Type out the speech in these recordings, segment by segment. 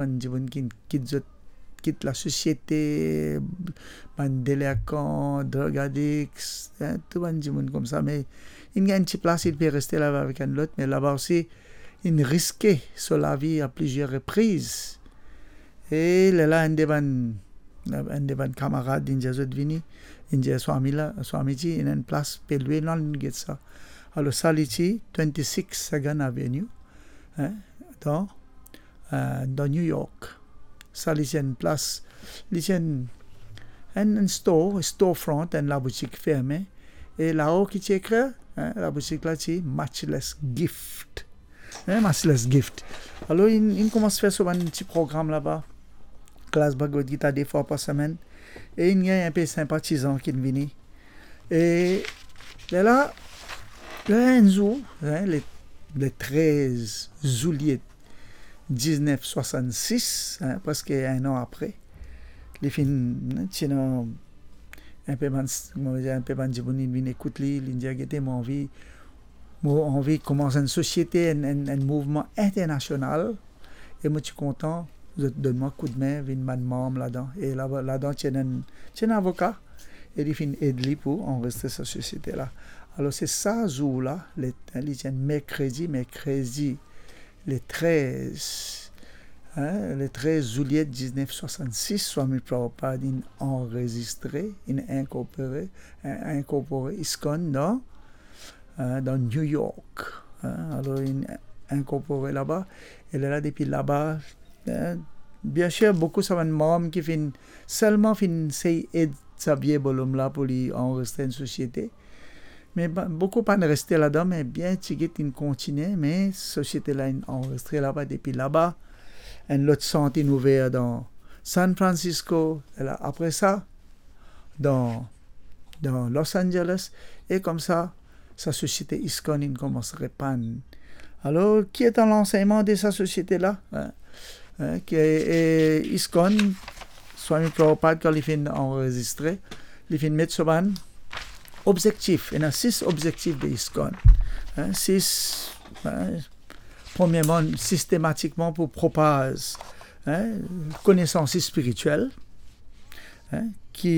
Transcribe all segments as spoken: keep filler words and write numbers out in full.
bann dimoun ki kit zot, kit lasosiete, bann delinkan, drug addicts, hein, tou bann dimoun koumsa, me inn gagn ti plas, inn pe reste laba avek enn lot, me laba osi, inn riske so lavi a plizier repriz. E lerla enn de bann, enn de bann kamarad, inn dir zot vini, inn dir Swami la, Swamiji, ena enn plas pe lwe la, nou get sa. Alor sa li ti twenty-six Second Avenue, hein, dan, euh, dan New York. Sa li ti enn plas, li ti enn, enn, enn store, storefront, enn laboutik ferme. E lao ki ti ekrir, hein, laboutik la ti Matchless Gift. Hein, Matchless Gift. Alor, inn, inn koumans fer so bann ti program laba. Klas Bhagavad Gita de fwa par semenn. E inn gagn inpe sinpatizan ki'nn vini. E lerla, lerla enn zour, hein, le, le trez zilye diznef swasannsis, hein, preske enn an apre, li finn, hein, ti ena inpe bann, kouma dir, inpe bann dimoun inn vinn ekout li, li dir, "Gete, mo anvi, mo anvi koumans enn sosiete, enn, enn, enn mouvman internasional, e mo ti kontan zot donn mwa koudme, vinn bann manm ladan." E la, ladan ti ena enn, ti ena avoka, e li finn ed li pou anrezistre sa sosiete la. Alor, se sa zour la, le, li ti enn merkredi, merkredi le trez, hein, le trez zilye diznef swasannsis, Swami Prabhupada inn anrezistre, inn inkorpore, in-, inkorpore ISKCON dan, hein, dan New York, hein. Alor, inn inkorpore laba, e lerla, depi laba, hein, biensir, boukou sa bann manm ki finn, selman finn sey ed sa vie bolom la pou li anrezistre enn sosiete. Me ba-, boukou pa'nn reste ladan, me bien tigit inn kontigne, me sosiete la inn anrezistre laba, depi laba. Enn lot sant inn ouver dan San Francisco, e la, apre sa, dan, dan Los Angeles, e koumsa, sa sosiete ISKCON inn koumans repann. Alor, ki eta lansegnman de sa sosiete la, hein? Hein, ki, e, ISKCON, Swami Prabhupada, kan li finn anrezistre, li finn met so bann obzektif. Ena sis obzektif de ISKCON. Hein, sis, hein, premierman, sistematikman pou propaz, hein, konesans spiritiel, hein, ki,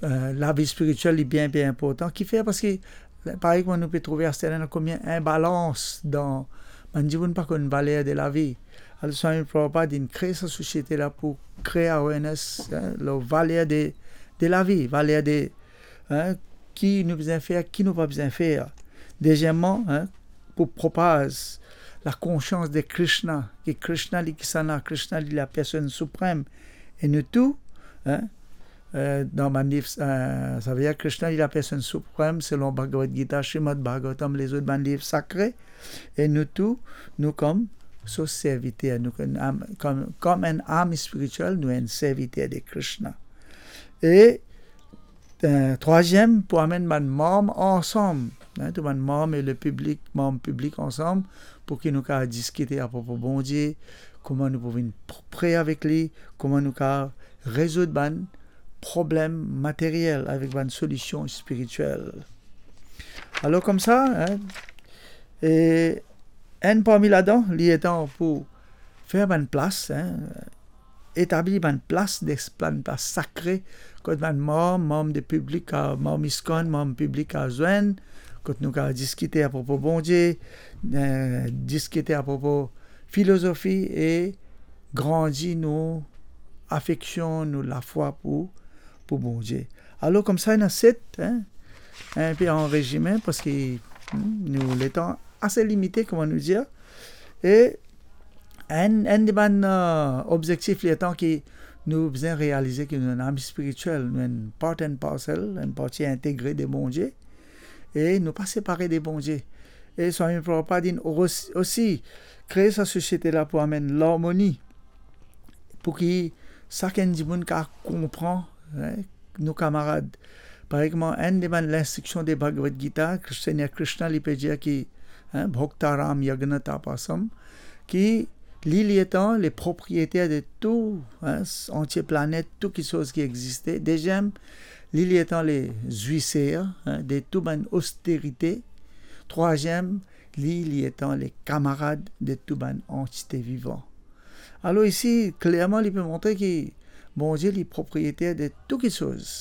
euh, lavi spiritiel, li bien, bien inportan. Kifer? Parski, parey kouma nou pe trouve aster la, ena koumie inbalans dan, bann dimoun pa konn valer de lavi. Alor, Swami Prabhupada inn kre sa sosiete la pou kre awareness, hein, lor valer de, de lavi, valer de, hein, ki nou bizin fer, ki nou pa bizin fer. Dezieman, hein, pou propaz lakonsians de Krishna, ki Krishna li kisannla, Krishna li lapersonn siprem. E nou tou, hein, euh, dan bann liv, euh, savedir Krishna li lapersonn siprem, selon Bhagavad Gita, Srimad Bhagavatam, lezot bann liv sakre, e nou tou, nou kom so serviter, nou kom, kom, kom enn am spiritiel, nou enn serviter de Krishna. E, euh, trwaziem, pou amenn bann manm ansam, hein, tou bann manm e le piblik, manm piblik ansam, pou ki nou kav diskite apropo Bondie, kouma nou pou vinn pr-, pre avek li, kouma nou kav rezoud bann problem materiel avek bann solision spiritiel. Alor, koumsa, hein, e enn parmi ladan, li letan pou fer bann plas, hein, etabli bann plas, de bann plas sakre, kot bann manm, manm de piblik, a, manm ISKCON, manm piblik kav zwenn, kot nou kav diskite apropo Bondie, euh, diskite apropo filozofi e grandi nou afeksion, nou lafwa pou, pou Bondie. Alor, koumsa, ena set, hein, inpe an rezime, parski, hmm, nou letan ase limite, kouma nou dir. E enn, enn de bann, euh, obzektif letan ki nou bizin realize ki nou enn am spiritiel, nou enn part and parcel, enn parti integre de Bondie, e nou pa separe de Bondie. E Swami Prabhupada inn osi, osi kre sa sosiete la pou amenn larmoni, pou ki sakenn dimoun kav konpran, hein, nou kamarad. Parey kouma enn de bann linstriksion de Bhagavad Gita, Segner Krishna, li pe dir ki, hein, Bhoktaram Yagnatapasam, ki li, li letan le propriyeter de tou, hein, antie planet, tou kiksoz ki existe. Deziem, li, li letan le zwiser, hein, de tou bann osterite. Trwaziem, li, li letan le kamarad de tou bann antite vivan. Alor isi, klerman, li pe montre ki Bondie, li propriyeter de tou kiksoz.